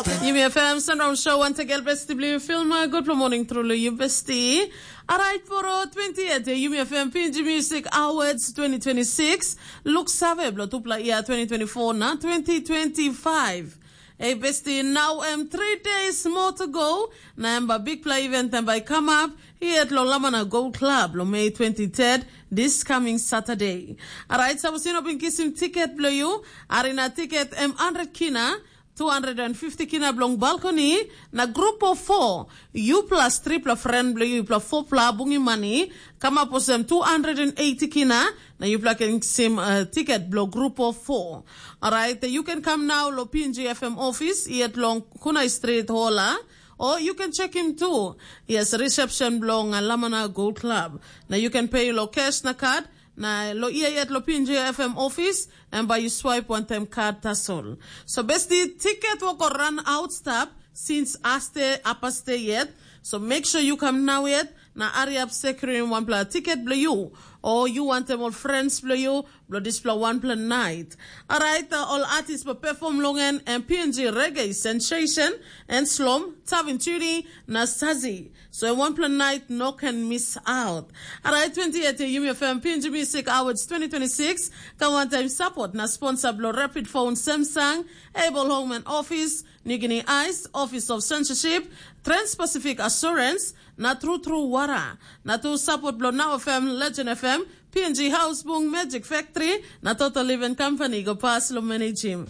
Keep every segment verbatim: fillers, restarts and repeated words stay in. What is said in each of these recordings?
Yumi F M Sunrise Show, once again, besti bli film. Good morning, truly, you besti. Alright, for uh, twenty-eight, uh, Yumi F M P N G Music Awards twenty twenty-six. Look save blo tupla year twenty twenty-four na twenty twenty-five. Hey, besti, now um, three days more to go. Na em ba big play event and by come up here at Lolamana Gold Club, lo May twenty-third, this coming Saturday. Alright, so you know, been kissing ticket blo you. Arena ticket, um, hundred kina. two hundred and fifty kina bilong balcony, na grup of four, yu plus tripla friend bilong yu, yupela fopla bungim mani, kamap olsem two hundred and eighty kina, na yupela ken kisim uh, tiket bilong grup of four. Alright, you can come now lo P N G F M office yet long Kunai Street Hola, or you can check him too. Yes, reception bilong uh, Lamana Gold Club. Na you can pay lo cash na card, na lo ia yet lo P N G F M office, and by you swipe one time card tasol. So besti ticket will go run out stop since aste apaste yet. So make sure you come now yet. Na hurry up securing one pla ticket blo you. Or you want them all friends blo you. Blo this pla one pla night. Alright, uh, all artists will perform long and, and P N G reggae sensation and slom, Tavin Chiri, na Sazi. So one pla night no can miss out. Alright, twenty-eight Yumi F M P N G Music Awards twenty twenty-six. Come one time support na sponsor blo Rapid Phone Samsung, Able Home and Office, New Guinea Ice, Office of Censorship, Trans-Pacific Assurance, na True True Wara. Na tu support blo Now F M, Legend F M, P N G House Bung, Magic Factory, na Total Living Company go pass lo manage him.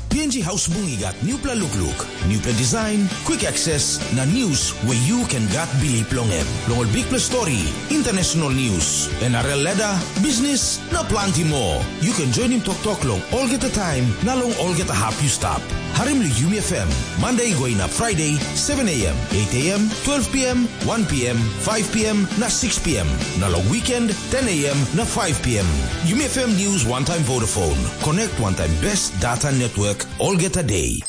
P N G House Bung i gat newpela lukluk, newpela design, quick access, na news where you can gat bilip long em. Long ol bikpela story, international news, N R L ladder, business, na planti more. You can join him toktok long olgeta time, na long olgeta hap you stap. Harim lo Yumi F M, Monday go inap Friday, seven a.m., eight a.m., twelve p.m., one p.m., five p.m., na six p.m. Na long weekend, ten a.m. na five p.m. Yumi F M News one time Vodafone. Connect one time best data network olgeta day.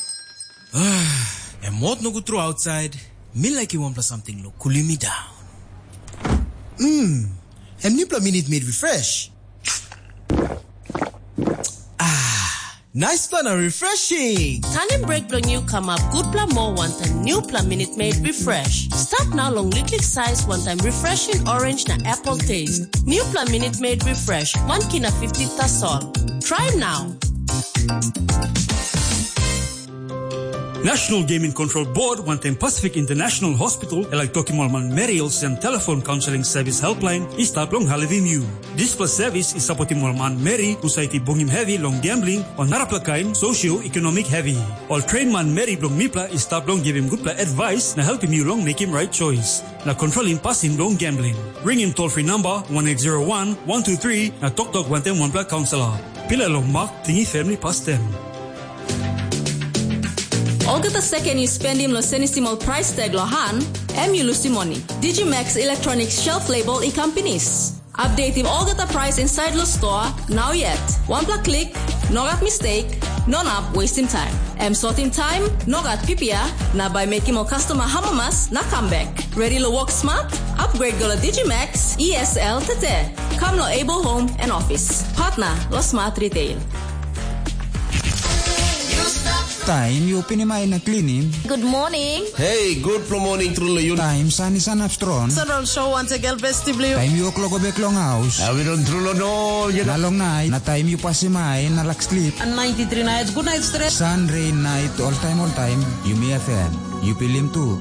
Em mot nogut tru outside. Mi like wanpela something lo cooling me down. Mm. Em newpela Minute Maid Refresh. Ah, nice plan and refreshing. Tanim break bilong yu kamap gutpela moa wantaim newpela Minute Maid Refresh. Start now long liklik size wantaim refreshing orange na apple taste. Newpela Minute Maid Refresh, one kina fifty tasol. Try now. National Gaming Control Board wantaim Pacific International Hospital e laik tokim ol manmeri olsem telefon kaunseling sevis helpline i stap long helpim yu. Dispela sevis i sapotim ol manmeri husat i bungim hevi long gambling o narapela kain socio-economic hevi. Ol train manmeri bilong mipela i stap long givim gutpela advice na helpim yu long mekim right choice na kontrolim pasin bilong gambling. Ringim toll-free namba one eight zero one, one two three na toktok wantaim wanpela kaunselor. Pilai long mak, tingim family pastem. Olgeta seken yu spendim long senisim ol price tag long han, em yu lusim moni. Digimax Electronics shelf label i kam pinis. Updatim olgeta price inside lo store, now yet. Wanpela klik, no gat mistake, no nap wastim time. Em sotim time, no gat pipia, na bai mekim ol customer hamamas na comeback. Ready lo work smart? Upgrade go lo Digimax E S L tete. Kam lo Able Home and Office. Partner lo Smart Retail. Taim yu pinim ai na klinim. Good morning. Hey, good morning, truly you. Taim san i sanap strong. Central Show once again, besti bli. Taim yu klok bek long haus. Awi don trulo no, you Na know. Long nait, na taim yu pasim ai na lak slip. And ninety-three nights, good night stress. San, rain, night, all time, all time. Yumi F M. Yu pilim tu.